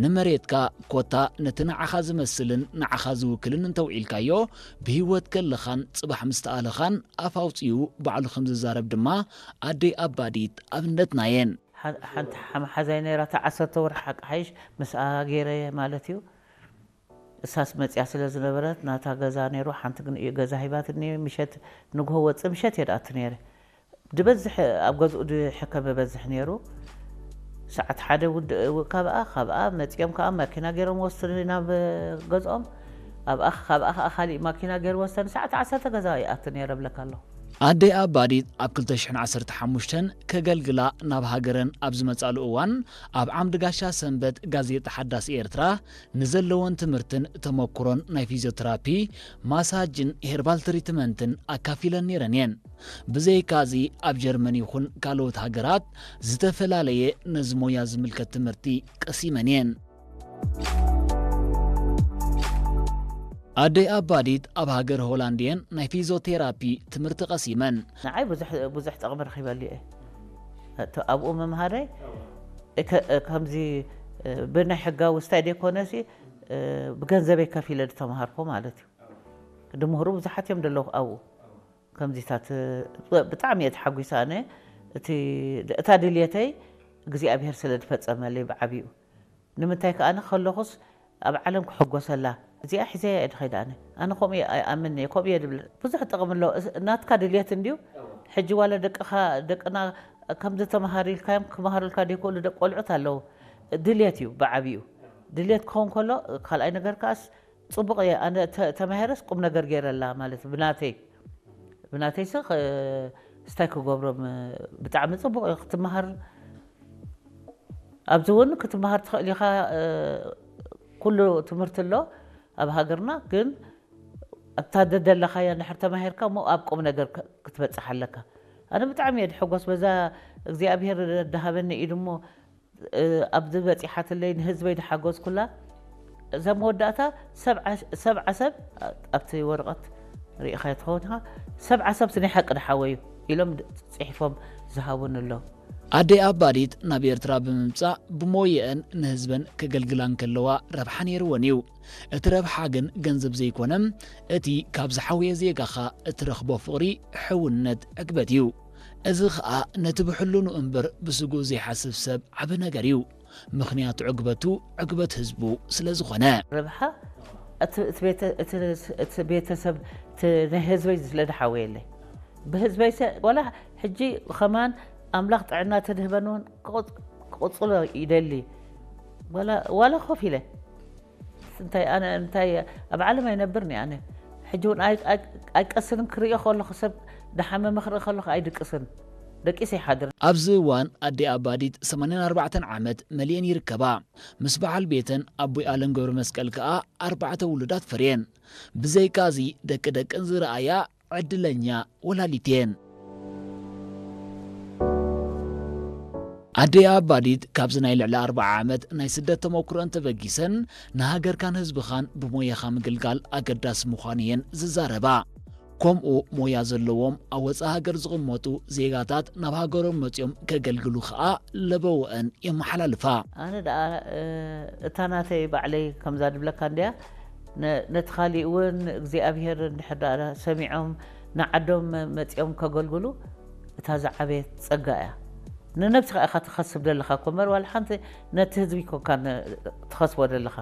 ንመሬትካ ኮታ ነቲ ንዓኻ ዝመስልን ንዓኻ ዝውክልን እንተውዒልካዮ፣ ብህይወት ከለኻን ጽባሕ ምስ ተኣለኻን ኣፍ ኣውጺኡ ባዕሉ ከም ዝዛረብ ድማ ኣደይ ኣባዲት ኣብነትና እየን። ሓ-፣ ሓንቲ ሓ-፣ ሓዛይ ነይራ፣ እታ ዓሰርተ ወርሒ ሓቂ ሓይሽ ምስኣ ገይረ ማለት እዩ። እሳስ መጽያ ስለ ዝነበረት ናታ ገዛ ነይሩ፣ ሓንቲ ግን እዩ ገዛ ሂባትኒ። ምሸት ንግሆ ወጽእ ምሸት እየ ድኣቱ ነይረ። ድበዝሕ ኣብ ገዝኡ ድሕከም በዝሕ ነይሩ። ሰዓት ሓደ ውድ-፣ ካብኣ፣ ካብኣ መጺኦም ከኣ ማኪና ገይሮም ወስዱኒ ናብ ገዝኦም። ኣብኣ፣ ካብኣ ከኣ ካሊእ ማኪና ገይሩ ወሰዱኒ። ሰዓት ዓሰርተ ገዛ ይኣቱ ነይረ እብለካ ኣለኹ። ኣደይ ኣባዲት ኣብ ክልተ ሽሕን ዓሰርተ ሓሙሽተን ከገልግላ ናብ ሃገረን ኣብ ዝመጻሉ እዋን፣ ኣብ ዓምዲ ጋሻ ሰንበት ጋዜጣ ሓዳስ ኤርትራ ንዘለወን ትምህርትን ተመኩሮን ናይ ፊዚዮተራፒ፣ ማሳጅን ሄርባል ትሪትመንትን ኣካፊለን ነይረን እየን። ብዘይካዚ ኣብ ጀርመን ይኹን ካልኦት ሃገራት ዝተፈላለየ ነዚ ሞያ ዝምልከት ትምህርቲ ቀሲመን እየን። ኣደይ ኣባዲት ኣብ ሃገር ሆላንድ እየን ናይ ፊዚዮቴራፒ ትምህርቲ ቀሲመን። ንዓይ ብዙሕ፣ ብዙሕ ጥቕሚ ረኺበሉ እየ። እቲ ኣብኡ ምምሃረይ፣ እከ-፣ ከምዚ፣ እ፣ ብናይ ሕጋዊ ስታይ ደይኮነሲ፣ እ፣ ብገንዘበይ ከፊለ ዝተምሃርኩ ማለት እዩ። ድምህሩ ብዙሓት እዮም ዘለዉ ኣብኡ። ከምዚታት፣ እ፣ ብጣዕሚ እየ ተሓጒሰ ኣነ። እቲ፣ እታ ድልየተይ እግዚኣብሔር ስለ ዝፈጸመለይ ብዓቢኡ። ንምንታይ ከኣ ኣነ ከለኹስ ኣብ ዓለም ክሕጎሰላ፣ እዚኣ ሒዘያ እየ ድኸይድ ኣነ። ኣነ ከምኡ እየ ኣይኣምን እየ፣ ከምኡ እየ ድብል። ብዙሕ ጥቕሚ ኣለዎ። እስ-፣ ናትካ ድልየት እንድዩ። ሕጂ ዋላ ደቅኻ፣ ደቅና ከምዚ ተመሃር ኢልካዮም ክመሃሩልካ ደይክእሉ ደቂ ቆልዑት ኣለዉ። ድልየት እዩ ብዓቢኡ። ድልየት ክኸውን ከሎ፣ ካልኣይ ነገር ከኣስ ጽቡቕ እየ። ኣነ ተ-፣ ተማሂረስ ቁም ነገር ገይረላ ማለት ብናተይ፣ ብናተይስ ኸ-፣ ስታይ ክገብሮም ብጣዕሚ ጽቡቕ እዩ። ክትመሃር ኣብዚ እውን ክትመሃር ትኽእል ኢኻ። እ፣ ኩሉ ትምህርቲ ኣሎ ኣብ ሃገርና፣ ግን ኣብታ ደደለኻያ እንድሕር ተማሂርካ እሞ ኣብ ቁም ነገር ክ-፣ ክትበጽሕ ኣለካ። ኣነ ብጣዕሚ እየ ድሕጎስ በዛ እግዚኣብሔር ደሃበኒ ኢዱ እሞ፣ እ፣ ኣብዚ በጺሓትለይ ንህዝበይ ድሓገዝኩላ። እዛ መወዳእታ ሰብዓ፣ ሰብዓ ሰብ ኣብቲ ወረቐት ርኢኻዮ ትኸውን ኢኻ። ሰብዓ ሰብ ናይ ሓቂ ድሓወዩ ኢሎም ድ-፣ ጽሒፎም ዝሃቡኒ ኣለዉ። ኣደይ ኣባዲት ናብ ኤርትራ ብምምጻእ ብሞየአን ንህዝበን ከገልግላ እንከለዋ ረብሓ ነይርወን እዩ። እቲ ረብሓ ግን ገንዘብ ዘይኮነ፣ እቲ ካብ ዝሓወየ ዜጋኻ እትረኽቦ ፍቕሪ፣ ሕውነት፣ ዕግበት እዩ። እዚ ኸኣ ነቲ ብሕልኑ እምበር ብስግኡ ዘይሓስብ ሰብ ዓቢ ነገር እዩ። ምኽንያቱ ዕግበቱ ዕግበት ህዝቡ ስለ ዝኾነ። ረብሓ እቲ፣ እቲ ቤተ-፣ እቲ፣ እቲ ቤተሰብ፣ እቲ ናይ ህዝበይ ስለ ዝሓወየለይ። ብህዝበይ ሰ-፣ ዋላ ሕጂ ኸማን ኣምላኽ ጥዕና ተድህበኒ እውን ክቕጽ-፣ ክቕጽሎ ይደሊ። ዋላ፣ ዋላ ኮፍ ኢለ። እንታይ ኣነ፣ እንታይ ኣብ ዓለም ኣይነብርን እየ ኣነ። ሕጂ እውን ኣይ-፣ ኣይ-፣ ኣይቀስንን ክርእዮ ከለኹ ሰብ ደሓመመ ክርኢ ከለኹ ኣይድቅስን። ደቂሰ ይሓድር። ኣብዚ እዋን ኣዴ ኣባዲት ሰማንያን ኣርባዕተን ዓመት መሊኤን ይርከባ። ምስ በዓል ቤተን ኣቦይ ኣለም ገብረ መስቀል ከኣ ኣርባዕተ ውሉዳት ፈርየን። ብዘይካዚ ደቂ ደቀን ዝረኣያ ዕድለኛ ወላዲት እየን። ኣደይ ኣባዲት ካብዚ ናይ ልዕሊ ኣርብዓ ዓመት ናይ ስደት ተመኩሮአን ተበጊሰን ንሃገርካን ህዝብኻን ብሞያኻ ምግልጋል ኣገዳሲ ምዃኑ እየን ዝዛረባ። ከምኡ ሞያ ዘለዎም ኣብ ወጻኢ ሃገር ዝቕመጡ ዜጋታት ናብ ሃገሮም መጺኦም ከገልግሉ ኸኣ ለበወአን የመሓላልፋ። ኣነ ደኣ፣ እ፣ እታ ናተይ ባዕለይ ከምዛ ድብለካ እንድያ፣ ነ-፣ ነቲ ካሊእ እውን እግዚኣብሔር እንድሕር ደኣ ሰሚዖም ንዓዶም መ-፣ መጺኦም ከገልግሉ እታ ዝዓበየት ጸጋ እያ። ንነብስኻ ኢኻ ትኸስብ ዘለኻ እኮ እምበር ዋላ ሓንቲ ነቲ ህዝቢ ኮንካ ን-፣ ትኸስቦ ዘለኻ።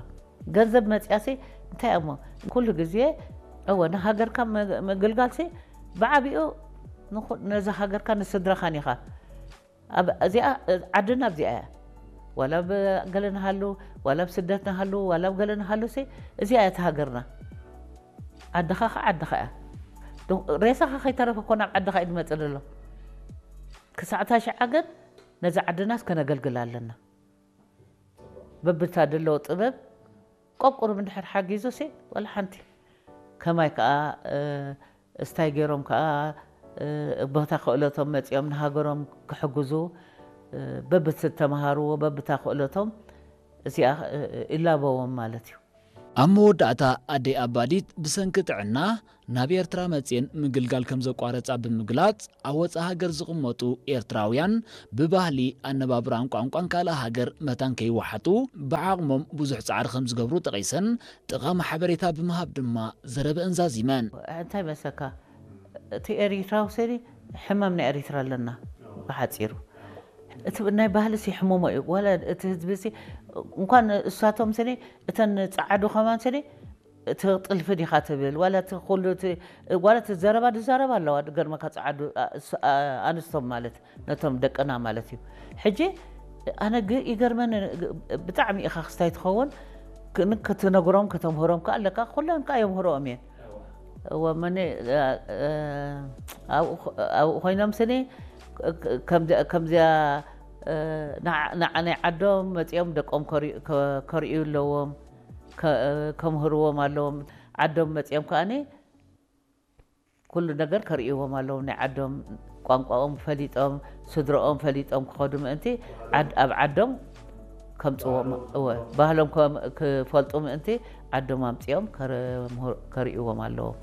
ገንዘብ መጽያሲ እንታይ እሞ ኩሉ ግዜ እወ ንሃገርካ መ-፣ ምግልጋልሲ ብዓቢኡ ንኹ-፣ ነዛ ሃገርካ ንስድራኻን ኢኻ። ኣብ እዚኣ፣ ዓድና ኣብዚኣ እያ። ዋላ ኣብ ገለ ንሃሉ፣ ዋላ ኣብ ስደት ንሃሉ፣ ዋላ ኣብ ገለ ንሃሉሲ እዚኣ እያ እታ ሃገርና። ዓድኻ ኸዓ ዓድኻ እያ። ዶ-፣ ሬሳኻ ከይተረፈ እኮ ናብ ዓድኻ እዩ ዝመጽእ ዘሎ። ክሳዕ እታ ሽዓ ግን ነዛ ዓድናስ ከነገልግል ኣለና። በብታ ደለዎ ጥበብ ቆቁርብ እንድሕር ሓጊዙሲ ዋላ ሓንቲ። ከማይ ከኣ፣ እ፣ እስታይ ገይሮም ከኣ፣ እ፣ ቦታ ክእለቶም መጺኦም ንሃገሮም ክሕግዙ፣ እ፣ በብቲ ዝተምሃርዎ፣ በብታ ክእለቶም እዚኣ፣ እ፣ ይላበዎም ማለት እዩ። ኣብ መወዳእታ ኣደይ ኣባዲት ብሰንኪ ጥዕና ናብ ኤርትራ መጽየን ምግልጋል ከም ዘቋረጻ ብምግላጽ፣ ኣብ ወጻኢ ሃገር ዝቕመጡ ኤርትራውያን ብባህሊ፣ ኣነባብራን ቋንቋን ካልእ ሃገር መታን ከይወሓጡ ብዓቕሞም ብዙሕ ጻዕሪ ከም ዝገብሩ ጠቒሰን፣ ጠቓሚ ሓበሬታ ብምሃብ ድማ ዘረበአን ዛዚመን። እንታይ መሰካ፣ እቲ ኤሪትራዊ ስኒ ሕማም ናይ ኤሪትራ ኣለና። ብሓፂሩ እቲ ናይ ባህሊ ሲ ሕሙሞ እዩ። ዋላ እቲ ህዝቢ ሲ እንኳን እሳቶም ስኒ፣ እተን ፃዓዱ ከማን ስኒ እቲ ጥልፊ ዲኻ ትብል ዋላ እቲ ኩሉ እቲ ዋላ እቲ ዘረባ ዝዛረባ ኣለዋ። ገርመካ ፃዓዱ ኣንስቶም ማለት ነቶም ደቅና ማለት እዩ። ሕጂ ኣነ ግ ይገርመኒ፣ ብጣዕሚ ኢኻ ክስታይ ትኸውን። ክትነግሮም ከተምህሮም ከ ኣለካ። ኩለን ከ የምህሮኦም እየን። እወ መነ ኣብኡ ኮይኖም ስኒ ከምዚኣ ንዓ ናይ ዓዶም መፂኦም ደቆም ከርእዩ ኣለዎም። ከምህርዎም ኣለዎም። ዓዶም መፂኦም ከኣኒ ኩሉ ነገር ከርእይዎም ኣለዎም። ናይ ዓዶም ቋንቋኦም ፈሊጦም ስድረኦም ፈሊጦም ክኸዱ ምእንቲ ኣብ ዓዶም ከምፅዎም እወ ባህሎም ክፈልጡ ምእንቲ ዓዶም ኣምፂኦም ከርእይዎም ኣለዎም።